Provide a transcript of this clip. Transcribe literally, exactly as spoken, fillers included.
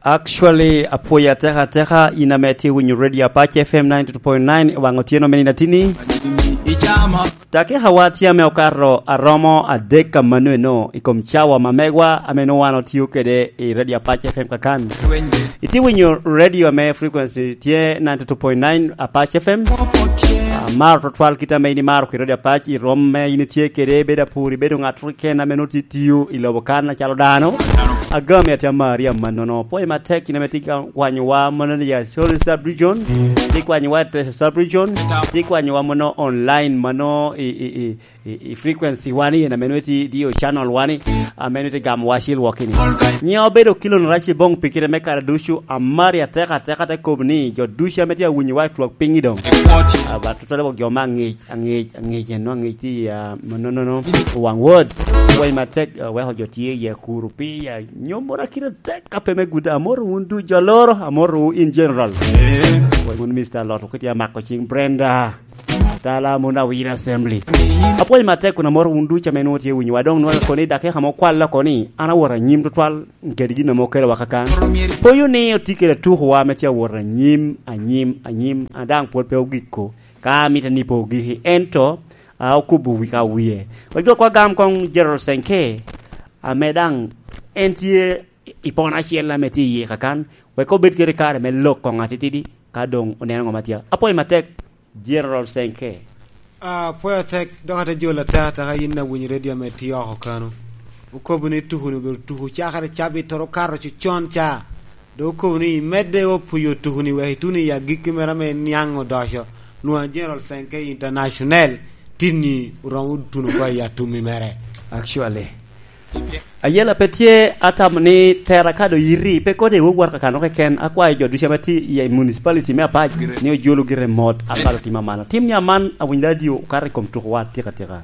Actually, apwoyo ateka ateka in ame tye winyo Radio Apac F M ninety two point nine i waŋ otyeno me nino atini. Dakika wa tye ame okato aromo adek ka mano eno i kom cawa ma megwa ame nwoŋo wan otio kede i Radio Apac F M kakan. Itye winyo radio ame frequency tye ninety two point nine Apac F M. Amaro tutwal kit ame in imaro kede Radio Apac i rwom me in itye kede, bedo apur, ibedo ŋat keken ame nwoŋo tye tiyo i lobo kan acalo dano. Agami atye amari amannono. Pwoyo matek in ame tye ka kwanyowa mono i Acholi Sub Region, tye kwanyowa i Teso Sub Region, tye kwanyowa mono online mano i, i, i, i, i frequency wani en ame nwoŋo tye diyo channel wani, ame nwoŋo tye gamo wa cil wokini. Nyiŋa obedo Kilon Raci Boŋ pi kite me kare ducu, amari ateka ateka te kobo ni jo ducu ame tye awinyowa i twak piny i doŋ. Aba tutwale wok jo ma aŋic, aŋic, aŋic, eno aŋic tye i, ah, manonono, waŋ wod. Pwoyo matek, ah, weko jo tye i akuru pi, ah, nyommoro akite tek ka pe me gudo. Amoro wun du jo loro, amoro wu in general. Pwoyo wun Mister Lot, okiti amako cing Brenda. Tala mon awira assembly. Apwoyo matek kun amoro wun ducu ame nwoŋo tye winyowa. Doŋ nwoŋo koni dakika mo kwalla koni, an awot anyim tutwal kede gin ame okelo wa kakan. Poyo ni otye kede tukowa ame tye awot anyim, anyim, anyim, a daŋ pwod pe ogiko. Ka amito ni pe ogiki, ento, a, okubo wi ka wie. Wek dwok wa gam koŋ General Senke, ame daŋ en tye i pono acel ame tye iye kakan, wek obed kede kare me lok koŋ atitidi, ka doŋ oneno ŋo ma tye. Apwoyo matek, General Senke. Ah, apwoyo tek, dok ate jolo ateka ateka yin awinyo radio ame tye oko kano. Okobo ni tukuni obedo tuku cakere cabit toro kato cucon ca. Dok okobo ni imedde o puyo tukuni wek ituno i agikki mere ame niaŋ odoco. Nwoŋo General Senke International tinni oromo tuno oko i atummi mere. Actually. Ayela pe tye, atamo ni tera ka do yiti, pe kodi iwowot kakano keken, akwayo jo ducu ame tye i municipality me Apac ni ojulu gire mot, apalo tim aman. Tim ni aman, awinyo radio okato i kom tukowa atika tika.